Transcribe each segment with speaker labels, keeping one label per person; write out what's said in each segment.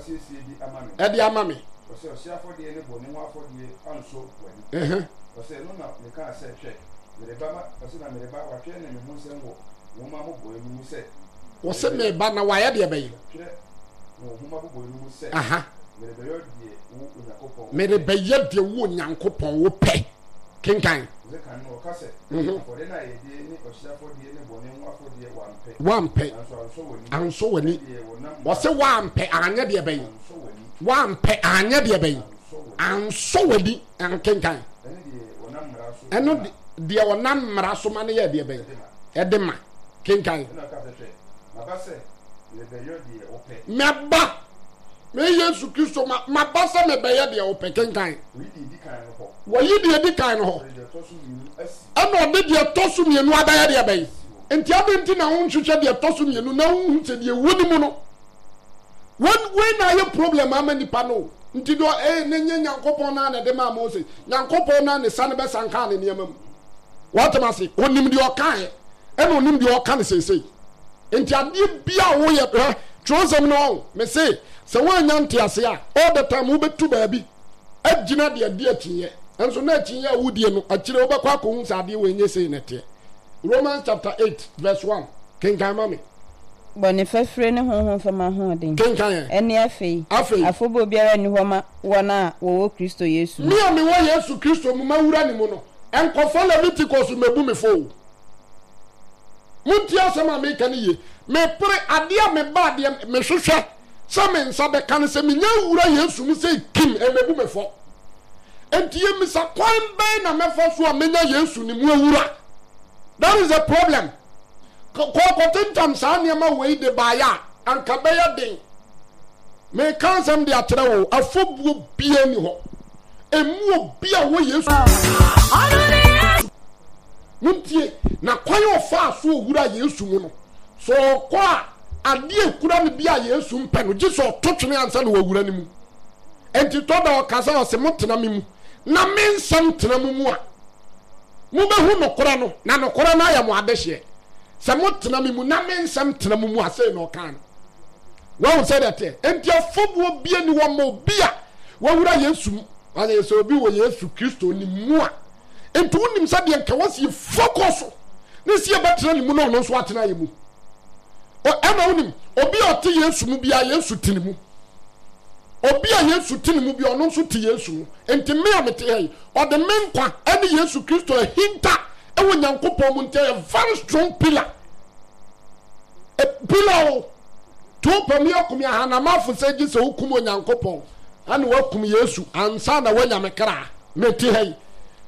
Speaker 1: wasiesie de ama me.
Speaker 2: Ɛde ama me.
Speaker 1: Ɔsɛ ɔhyeɛ afɔdeɛ ne bɔne ho afɔdeɛ ansɔ w'ani. Ɔsɛ ɛno na mekaa sɛ, Hwɛ, mereba ma, ɔsɛ na mereba, wɔatwerɛ ne me ho nsɛm wɔ nwoma mmobɔeɛ no mu sɛ.
Speaker 2: Ɔsɛ mereba na wɔayɛ deɛ bɛyɛ.
Speaker 1: Twerɛ no wɔ nwoma mmobɔeɛ no mu sɛ. Merebɛyɛ deɛ wo Onyankopɔn wopɛ.
Speaker 2: Merebɛyɛ deɛ wo Onyankopɔn wopɛ. Kenkan.
Speaker 1: Ɔsɛ kan no ɔka sɛ, Afɔdeɛ no ayɛyɛdeɛ ne ɔhyeɛ afɔdeɛ ne bɔne ho afɔdeɛ wampɛ.
Speaker 2: Wampɛ.
Speaker 1: Nanso ansɔ w'ani.
Speaker 2: Ansɔ w'ani.
Speaker 1: Ɛdeɛ wɔnam mmara
Speaker 2: Ɔsɛ wampɛ anyɛ deɛ bɛn.
Speaker 1: Ansɔ w'ani.
Speaker 2: Wampɛ anyɛ deɛ bɛn.
Speaker 1: Ansɔ w'ani.
Speaker 2: Ansɔ w'ani. Kenkan.
Speaker 1: Ɛne deɛ wɔnam mmara so
Speaker 2: Ɛno
Speaker 1: ma.
Speaker 2: deɛ wɔnam mmara so ma no yɛ deɛ bɛn.
Speaker 1: Ɛde ma.
Speaker 2: Ɛde ma. Kenkan.
Speaker 1: Ɛna ɔka sɛ, Hwɛ, maba sɛ merebɛyɔ deɛ wopɛ.
Speaker 2: Maba. Me Yesu Kristo ma maba sɛ mebɛyɛ deɛ wopɛ. Kenkan.
Speaker 1: Wɔyi deɛ ɛdi kan no hɔ.
Speaker 2: Wɔyi deɛ ɛdi kan no hɔ. Ɛna ɔde deɛ ɛtɔ so mmienu abɛyɛ deɛ bɛn? Nti adɛn nti na wonhwehwɛ deɛ ɛtɔ so mmienu na wonhu sɛ deɛ ɛwɔ ne mu no? Wɔn wei na ayɛ problem ama nipa no. Nti deɛ ɛyɛ ne nye Nyankopɔn naa na ɛde maa Mose. Nyankopɔn naa ne sane bɛsan kaa ne nneɛma mu. Wɔtem ase, onim deɛ ɔkaeɛ ɛna onim deɛ ɔka no seesei. Nti adeɛ bi a woyɛ hwɛ twerɛsɛm no ɔho mese sɛ woannya ntease a all the time wobɛtu baabi agyina deɛ adi akyinnyeɛ nso na akyinnyeɛ a wodie no akyire wobɛkɔ akɔhu sɛ adeɛ wei nyɛ sei na ɛteɛ. Romans chapter 8 verse 1 kenkan ma me.
Speaker 3: Bɔne fafire ne honhom fam ahoɔden.
Speaker 2: Kenkan ɛ.
Speaker 3: Ɛne afei,
Speaker 2: Afei.
Speaker 3: afɔbuo biara nni hɔ ma wɔn a wɔwɔ Kristo Yesu mu.
Speaker 2: Me a mewɔ Yesu Kristo mu mawura ne mu no, nkɔfa Leviticus mmɛbu me fɔ o. Montie asɛm a meka no yie. Mepere adeɛ a meba adeɛ mehwehwɛ sɛ me nsa bɛka no sɛ menya wura Yesu mu sɛ kim ɛmmɛbu me fɔ. Enti yɛmmisa kwan bɛn na mɛfa so a menya Yesu ne mu awura. That is the problem. Kɔkɔtentam saa nneɛma wei de baeɛ a anka bɛyɛ den. Meka asɛm de akyerɛ wo, afɔbuo biara ni hɔ. Ɛmu obi a wɔ Yesu. Montie, na kwan a ɔfaa so owura Yesu mu no, sɛ ɔkɔ a, adeɛ ekura no bi a Yesu mpɛ no, gye sɛ ɔto twene ansa na wawura ne mu. Enti tɔ da ɔka sɛ, ɔse, motena me mu, na me nsɛm tena mo mu a, mobɛhu nokorɛ no, na nokorɛ no ayɛ mo adehyeɛ. Sɛ motena me mu, na me nsɛm tena mo mu a, sei na ɔkaa no. Wahu sɛdeɛ ɛteɛ? Enti afɔbuo bia ni hɔ ma obi a wawura Yesu mu. Ɔsɛ sɛ obi wɔ Yesu Kristo ne mu a, Nti wonim sɛ deɛ nka wɔsi focus so ne si yɛbɛtena ne mu na ɔno nso atena yɛ mu. Ɛna wonim obi a ɔte Yesu mu biara Yesu te ne mu. Obi a Yesu te ne mu biara ɔno nso te Yesu mu. Nti me a mete ha yi ɔde me nkwa ɛne Yesu Kristo ahinta ɛwɔ Nyankopɔn mu nti ɛyɛ very strong pillar. E, pillar o. To pɛ me akum ahanamafo sɛ gye sɛ wokum Onyankopɔn ɛna wakum Yesu ansa na wanya me kra. Mete ha yi.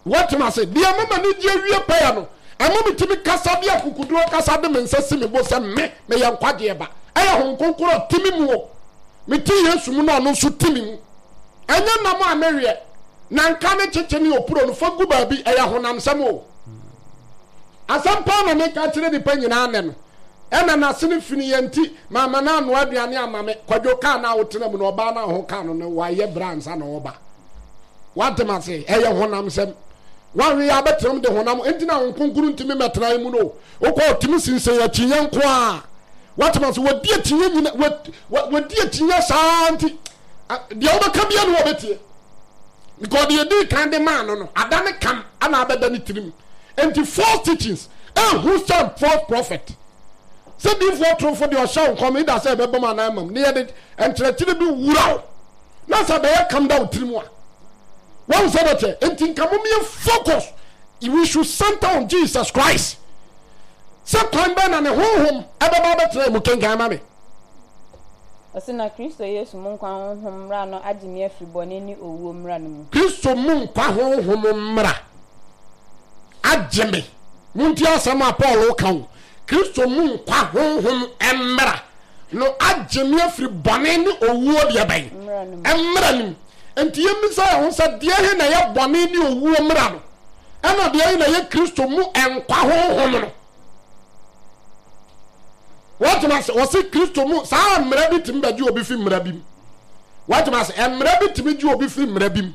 Speaker 2: Woate ase? Deɛ ɛma m'ani gye awie pɛyɛ no, ɛma metumi kasa de akokoduro kasa de me nsa si me bo sɛ me, meyɛ nkwagyeɛ ba. Ɛyɛ Honhom Kronkron a ɔte me mu o. Mete Yesu mu na ɔno nso te me mu. Ɛnyɛ nam a meweɛ, na nka ne kyekye ne opuro no, fa gu baabi, ɛyɛ honamsɛm o. Asɛm paa na meka kyerɛ nnipa nyinaa nnɛ no. Ɛna n'asene fini yɛ nti, mamma no annoa aduane amma me. Kwadwo kaa no a wotena mu no, ɔbaa no a ho kaa no no, wayɛ berɛ ansa na ɔreba. Wate ma se ɛyɛ honam sɛm. Wanwe yɛ abɛtenam de honam nti na wɔn kronkron ntumi mmɛtena mu no. Wokɔ ɔtumi sinsɛn akyinyɛ nko a. Wate ma se wɔdi akyinyɛ nyina wɔdi akyinyɛ saa nti deɛ wobɛka bia ne wɔbɛtie. Because deɛ ɛdii kan de maa no no ada ne kam ana abɛda ne tirim. Nti false teachings ehu sɛ false prophet. Sɛ diifoɔ torofo deɛ ɔhyɛ wo nkɔm ida sɛ ɛbɛbam anaa ɛmam ne yɛde nkyerɛkyerɛ bi wura wo. Na sɛ bɛyɛ kam da wo tirim a wɔn sɛ bɛkyɛ nti nka mo yɛ focus we should center on Jesus Christ sɛ kwan bɛn na ne honhom ɛbɛba abɛtena mu kenkan ma me.
Speaker 3: Ɔse na Kristo Yesu mu nkwa honhom mmara no agye me afiri bɔne ne owuo mmara no mu.
Speaker 2: Kristo mu nkwa honhom mmara agye me. Montie asɛm a Paul ka o. Kristo mu nkwa honhom mmara no agye me afiri bɔne ne owuo deɛ bɛn? Mmara no mu. Enti yɛmmisa yɛn ho sɛ, deɛ he na ɛyɛ bɔne ne owuo mmara no, ɛna deɛ he na ɛyɛ Kristo mu nkwa honhom no? Wɔtumi ase, wɔse Kristo mu, saa mmara bi tumi bɛgye obi fi mmara bi mu. Wɔtumi ase, mmara bi tumi gye obi fi mmara bi mu.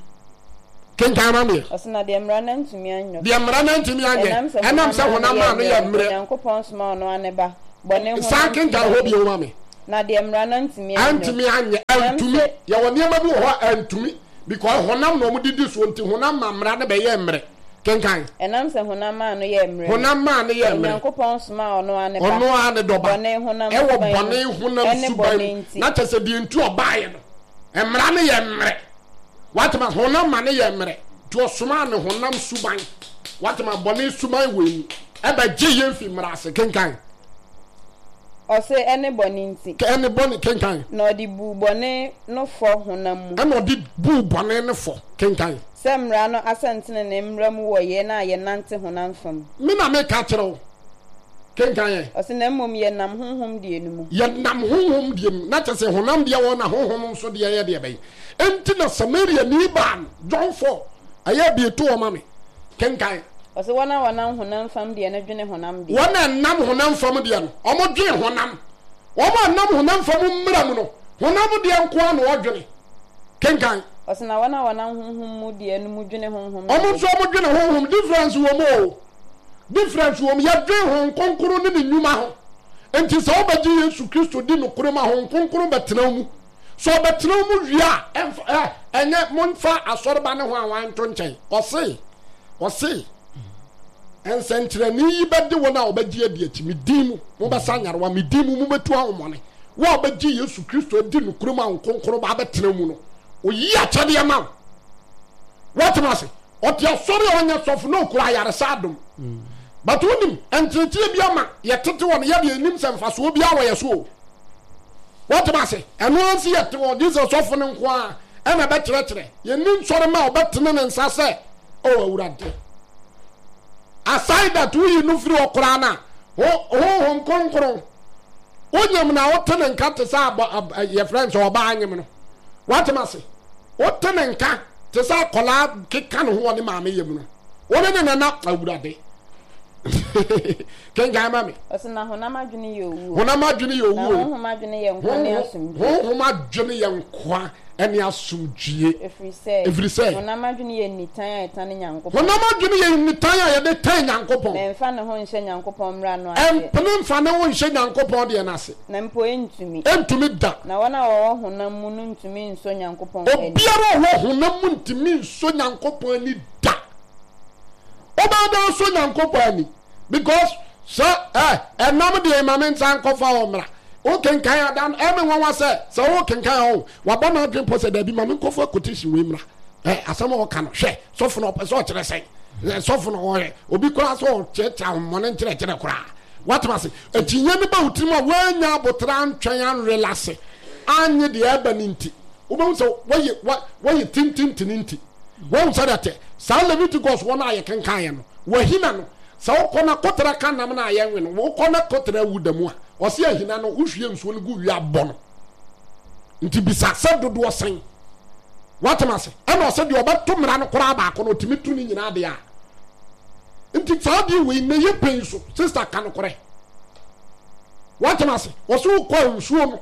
Speaker 2: Kenkan ma meɛ.
Speaker 3: Ɔse na deɛ mmara no antumi anyɔ.
Speaker 2: Deɛ mmara no antumi anyɛ.
Speaker 3: Ɛnam sɛ
Speaker 2: honam maa no yɛ mmerɛ.
Speaker 3: Onyankopɔn somaa ɔno ara ne ba, bɔne honam
Speaker 2: San kenkan hɔ bio ma me.
Speaker 3: Na deɛ mmara no antumi anyɛ.
Speaker 2: Antumi anyɛ, antumi. Yɛwɔ nneɛma bi wɔ hɔ a antumi because honam na wɔde di soɔ nti honam ma mmara no bɛyɛɛ mmerɛ. Kenkan.
Speaker 3: Ɛnam sɛ honam maa no yɛɛ mmerɛ no.
Speaker 2: Honam maa no yɛɛ mmerɛ.
Speaker 3: Onyankopɔn somaa ɔno ara ne ba.
Speaker 2: Ɔno ara ne dɔ ba.
Speaker 3: Bɔne honam
Speaker 2: Ɛwɔ
Speaker 3: suban mu.
Speaker 2: bɔne honam
Speaker 3: Ɛne
Speaker 2: suban
Speaker 3: bɔne
Speaker 2: mu.
Speaker 3: nti.
Speaker 2: Na kyerɛ sɛ deɛ nti ɔbaeɛ no, mmara no yɛ mmerɛ. Wate ma honam ma no yɛ mmerɛ. Nti ɔsomaa ne honam suban. Wate ma bɔne suban wɔ mu. Ɛbɛgye yɛn fi mmara ase. Kenkan.
Speaker 3: Ɔse, ɛne bɔne nti.
Speaker 2: Ɛne bɔne, kenkan.
Speaker 3: Na ɔde buu bɔne no fɔ honam mu.
Speaker 2: Ɛna ɔde buu bɔne no fɔ, kenkan.
Speaker 3: Sɛ mmara no asɛntenenee mmra mu wɔ yɛn a yɛnante honam fa mu.
Speaker 2: Me na meka kyerɛ wo, kenkan ɛ.
Speaker 3: Ɔse, na mmom yɛnam honhom deɛ no mu.
Speaker 2: Yɛnam honhom deɛ mu, na kyerɛ sɛ honam deɛ wɔ hɔ na honhom nso deɛ yɛ deɛ bɛn? Enti na Samariani baa no, John 4, ɛyɛ bie to hɔ ma me. Kenkan.
Speaker 3: Ɔse wɔn a wɔnam honam fam deɛ no dwene honam deɛ.
Speaker 2: Wɔn a ɛnam honam fam deɛ no, wɔdwene honam. Wɔn a ɛnam honam fam mmara mu no, honam deɛ nko ara na wɔdwene. Kenkan.
Speaker 3: Ɔse na wɔn a wɔnam honhom mu deɛ no mu dwene honhom deɛ.
Speaker 2: Wɔn nso wɔdwene honhom. Difference wɔ mu o. Difference wɔ mu. Yɛdwene Honhom Kronkron ne ne nnwuma ho. Enti sɛ wobɛgye Yesu Kristo di nokorɛ mu a, Honhom Kronkron bɛtena wo mu. Sɛ ɔbɛtena wo mu wie a, ɛmfa ɛ ɛnyɛ momfa asɔreba ne ho a wanto nkyɛn. Ɔse, ɔse, nsɛnkyerɛnne yi bɛde wɔn a wɔbɛgye adi akyi, me din mu, mobɛsa nyarewa, me din mu, mobɛtu ahomɔne. Wo a wobɛgye Yesu Kristo adi nokorɛ mu a Honhom Kronkron ba abɛtena wo mu no, ɔyi akyɛdeɛ ma wo. Woatem ase? Ɔte asɔre a ɔnyɛ sɔfo na ɔkura ayaresa adom. But wonim, nteetee bi ama yɛtete wɔn, yɛdeɛ yɛnim sɛ mfasoɔ biara wɔ yɛ so o. Wote ase? Ɛno ara nso yɛte hɔ, gye sɛ sɔfo no nko ara ɛna ɛbɛkyerɛkyerɛ. Yɛnni nsɔre ma ɔbɛtene ne nsa sɛ, O Awurade. Aside that, woyi no firi hɔ koraa no a, Honhom Kronkron, wonyam na wote ne nka te sɛ abɔ, yɛfrɛ no sɛ ɔbaa nyem no. Woate ase? Wote ne nka te sɛ akwadaa keka ne ho wɔ ne maame yam no. Wo ne ne nana awurade. Kenkan ma me.
Speaker 3: Ɔsɛ na honam adwene yɛ owuo.
Speaker 2: Honam adwene yɛ owuo.
Speaker 3: Na honhom adwene yɛ nkwa ne asomdwie.
Speaker 2: Honhom adwene yɛ nkwa ne asomdwie.
Speaker 3: Ɛfiri sɛ.
Speaker 2: Ɛfiri sɛ.
Speaker 3: Honam adwene yɛ nitan a ɛtane Nyankopɔn.
Speaker 2: Honam adwene yɛ nitan a yɛde tan Nyankopɔn.
Speaker 3: Na ɛmfa ne ho nhyɛ Nyankopɔn mmara no ase.
Speaker 2: Ɛmpene mfa ne ho nhyɛ Nyankopɔn deɛ no ase.
Speaker 3: Na mpo ɛntumi.
Speaker 2: Ɛntumi da.
Speaker 3: Na wɔn a wɔwɔ honam mu no ntumi nsɔ Nyankopɔn ani.
Speaker 2: Obiara a ɔwɔ honam mu ntumi nsɔ Nyankopɔn ani da. Wobɛyɛ dɛn asɔ Nyankopɔn ani? Because sɛ ɛ ɛnam deɛ ma me nsa nkɔfa hɔ mmra. Wokenkan ada no ɛme nwanwa sɛ sɛ wokenkan a ɔho wabɔ n'adwene pɔ sɛ daabi ma me nkɔfa quotation wei mmra. Ɛ asɛm a ɔka no hwɛ sɔfo no ɔpɛ sɛ ɔkyerɛ sɛn? Sɔfo no ɔyɛ obi koraa sɛ ɔkyerɛkyerɛ ahommɔne nkyerɛkyerɛ koraa. Woate ase? Akyinnye no ba wo tirim a woannya aboterɛ antwɛn anrelase annye deɛ ɛreba no nti, wobɛhu sɛ woayɛ woayɛ tintintini nti. Woahu sɛdeɛ ɛteɛ? Saa Leviticus hɔ no a yɛkenkaeɛ no, wahina no, sɛ wokɔ na koterɛ ka nam no a yɛnwe no, wokɔ na koterɛ awu da mu a, ɔse ahina no, wohwie nsuo no gu wie a bɔ no. Nti bisa sɛ dodoɔ sɛn? Woate ase? Ɛna ɔse deɛ ɔbɛto mmara no koraa baako no, ɔtumi to ne nyinaa deɛ a. Nti saa adeɛ wei na ɛyɛ pɛn so sister ka nokorɛ watem ase wɔso wokɔ nsuo no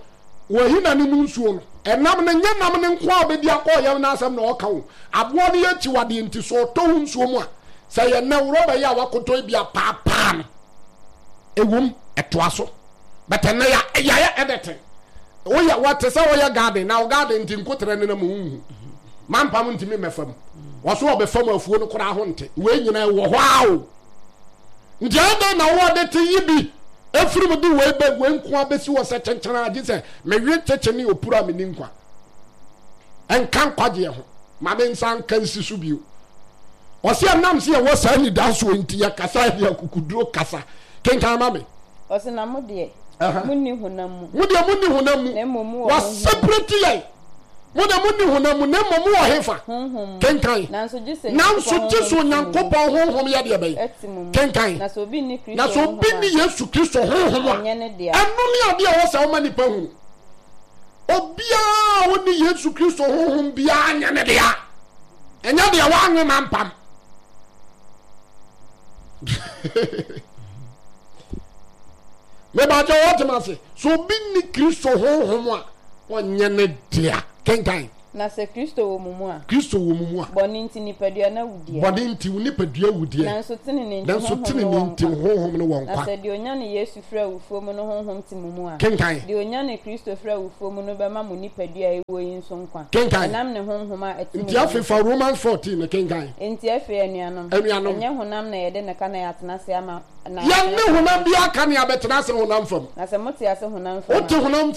Speaker 2: wɔahina ne mu nsuo no ɛnam no nyɛ nam no nko a bɛdi akɔ ɔyam no asɛm na ɔka o aboa no yɛ akyiwadeɛ nti so ɔtɔ wo nsuo mu a sɛ yɛ nnɛ worɔba yi a wakotɔ bi apaapaa no ɛwom ɛtoa so but ɛnnɛ ya yɛayɛ editing woyɛ wɔte sɛ woyɛ garden na wo garden nti nkotrɛ no na mu nhu mampam ntumi mmɛfa mu wɔso ɔbɛfa mu afuo no koraa ho nte wei nyina ɛwɔ hɔ a o nti adɛn na wowɔ de te yi bi ɛfiri mu de wei bɛ wei nko abɛsi wɔ sɛ kyenkyena agye sɛ mewe kyekye ne opuru a menni nkwa ɛnka nkwagyeɛ ho ma me nsa nka nsi so bio ɔsɛ ɛnam sɛ yɛwɔ saa anidasoɔ nti yɛkasa yɛde akukuduro kasa kenkan ma me
Speaker 3: Ɔse na mo deɛ, monni honam mu.
Speaker 2: Mo deɛ monni honam mu.
Speaker 3: Na mmom mowɔ honhom mu.
Speaker 2: Wɔaseparate yɛn. Mo deɛ monni honam mu, na mmom mowɔ hefa?
Speaker 3: Honhom mu.
Speaker 2: Kenkan.
Speaker 3: Nanso gye sɛ
Speaker 2: Nanso gye sɛ Onyankopɔn honhom yɛ deɛ bɛn?
Speaker 3: Ɛte mo mu.
Speaker 2: Kenkan.
Speaker 3: Na sɛ obi nni Kristo
Speaker 2: Na sɛ obi
Speaker 3: honhom a,
Speaker 2: nni Yesu Kristo honhom a,
Speaker 3: ɔnyɛ ne dea.
Speaker 2: ɛno ne adeɛ a ɛwɔ sɛ woma nnipa hunu. Obiara a ɔnni Yesu Kristo honhom biara nyɛ ne dea. Ɛnyɛ deɛ wanwe mampam. Mebakyɛ wɔte m ase. So obi nni Kristo honhom a, ɔnyɛ ne dea. Kenkan.
Speaker 3: Na sɛ Kristo wɔ mo mu a.
Speaker 2: Kristo wɔ mo mu a.
Speaker 3: Bɔne nti nipadua no awu deɛ.
Speaker 2: Bɔne nti wo nipadua awu deɛ.
Speaker 3: Nanso tenenee nti
Speaker 2: Nanso
Speaker 3: honhom no
Speaker 2: tenenee
Speaker 3: wɔ
Speaker 2: nti
Speaker 3: nkwa.
Speaker 2: honhom no wɔ
Speaker 3: Na
Speaker 2: nkwa.
Speaker 3: sɛ deɛ ɔnyane Yesu firi awufoɔ mu no honhom te mo mu a.
Speaker 2: Kenkan.
Speaker 3: Deɛ ɔnyane Kristo firi awufoɔ mu no bɛma mo nipadua a ɛwuo yi nso nkwa.
Speaker 2: Kenkan.
Speaker 3: Ɛnam ne honhom a ɛte mo
Speaker 2: Nti
Speaker 3: mu no
Speaker 2: afei
Speaker 3: so.
Speaker 2: fa Romans 14 no kenkan.
Speaker 3: Enti afei anuanom,
Speaker 2: Anuanom.
Speaker 3: ɛnyɛ honam na yɛde no ka na yɛatena ase ama na
Speaker 2: Yɛnne
Speaker 3: yɛatena ase
Speaker 2: honam
Speaker 3: honam
Speaker 2: biara ka nea bɛtena ase honam fam.
Speaker 3: Na sɛ mote ase honam fam
Speaker 2: Wote
Speaker 3: a.
Speaker 2: honam.